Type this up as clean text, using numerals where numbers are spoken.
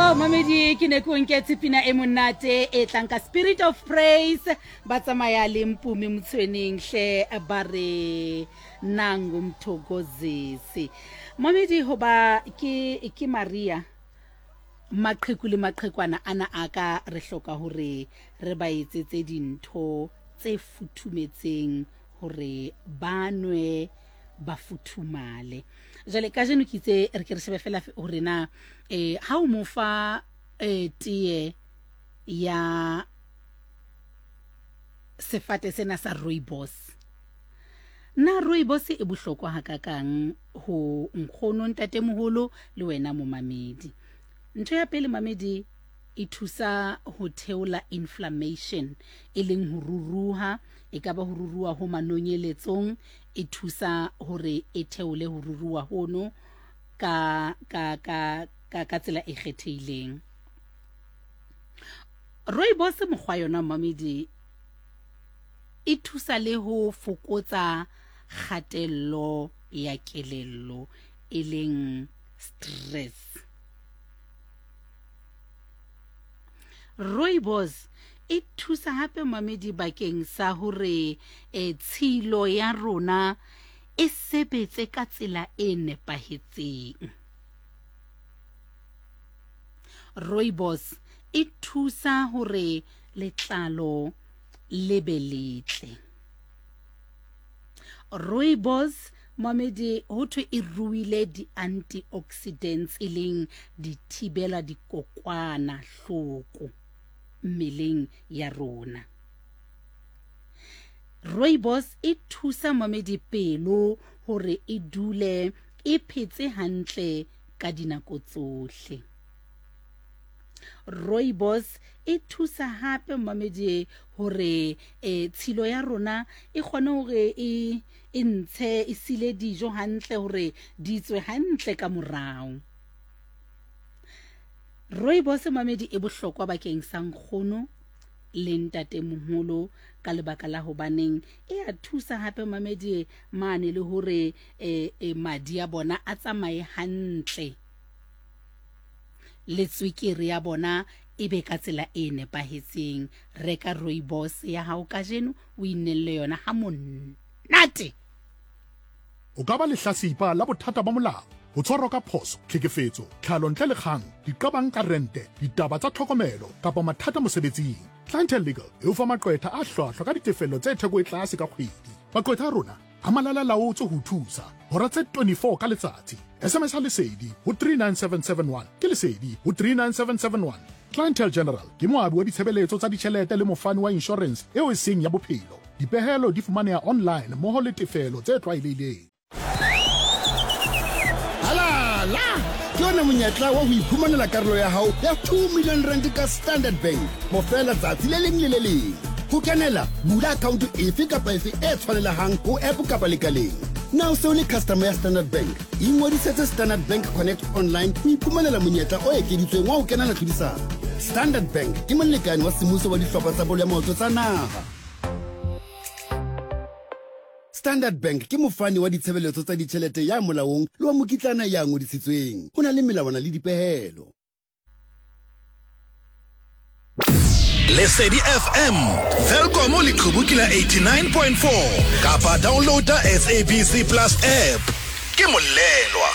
Oh, mamedi ke ne ke o nketse pina e monate e tlang ka Spirit of Praise ba tsamaya le Mpumi Motshweneng hle ba re nangu mthokozisi. Mamedi hoba ke ke Maria maqheku le maqhekwana ana a ka re hloka hore re ba etsetse dintho tse futhumetseng hore ba nwe ba futhumale. Jwale kajeno ke itse re ke re shebe fela hore na eh ha o mo fa eh tee ya sefate sena sa rooibos, na rooibos e bohlokwa hakakang ho nkgono, ntatemoholo le wena momamedi? Ntho ya pele mamedi, e thusa ho theola inflammation, e leng ho ruruha, e ka ba ho ruruha ho manonyeletsong, e thusa hore e theole ho ruruha hono ka, ka, ka, ka, ka tsela e kgethehileng. Rooibos mokgwa yona mamedi e thusa le ho fokotsa kgatello ya kelello e leng stress. Rooibos e thusa hape mamedi bakeng sa hore e, tshilo ya rona e sebetse ka tsela e nepahetseng. Rooibos e thusa hore letlalo le be letle. Rooibos Mamedi ho thwe e ruile di-antioxidants e leng dithibela dikokwana hloko mmeleng ya rona. Rooibos e thusa mamedi pelo hore e dule e phetse hantle ka dinako tsohle. Rooibos e thusa hape mamedi hore e tshilo ya rona e kgone hore e e ntshe e sile dijo hantle hore di tswe hantle ka morao. Rooibos mamedi e bohlokwa bakeng sa nkgono le ntatemoholo ka lebaka la hobaneng e a thusa hape mamedi mane le hore e, e madi a bona a tsamaye hantle le tswekere ya bona e be ka tsela e nepahetseng. Reka rooibos ya hao kajeno o inelle yona ha monate. O ka ba lehlasipa la bothata ba molao, ho tshwarwa ka phoso, tlhekefetso, tlhalo ntle le kgang, diqabang ka rente, ditaba tsa tlhokomelo kapa mathata mosebetsing. Clientele Legal e o fa maqwetha a hlwahlwa ka ditefello tse theko e tlase ka kgwedi. Maqwetha a rona a malala-laotswe ho o thusa hora tse 24 ka letsatsi. SMS-a Lesedi ho 39771. Ke Lesedi ho 39771. Clientele General ke moabi wa ditshebeletso tsa ditjhelete le mofani wa inshorense eo e seng ya bophelo. Dipehelo di fumaneha online mmoho le tefelo tse tlwaelehileng. Halala! Ke ona monyetla wa ho iphumanela karolo ya hao ya 2 million rand ka Standard Bank bofela tsatsi le leng le le leng. Ho kenela, bula akhaonto efe kapa efe e tshwanelehang ho app kapa lekaleng. Na o se o le customer ya Standard Bank? Ingodisetse Standard Bank Connect online ho iphumanela monyetla o ekeditsweng wa ho kenela tlhodisano. Standard Bank ke molekane wa semmuso wa dihlopha tsa bolo ya maoto tsa naha. Standard Bank ke mofani wa ditshebeletso tsa ditjhelete ya molaong le wa mokitlana ya ngodisitsweng. Ho na le melawana le dipehelo. Lesedi FM, Welkom leqhubu ke la 89.4 kapa downloada SABC Plus app. Ke molelwa.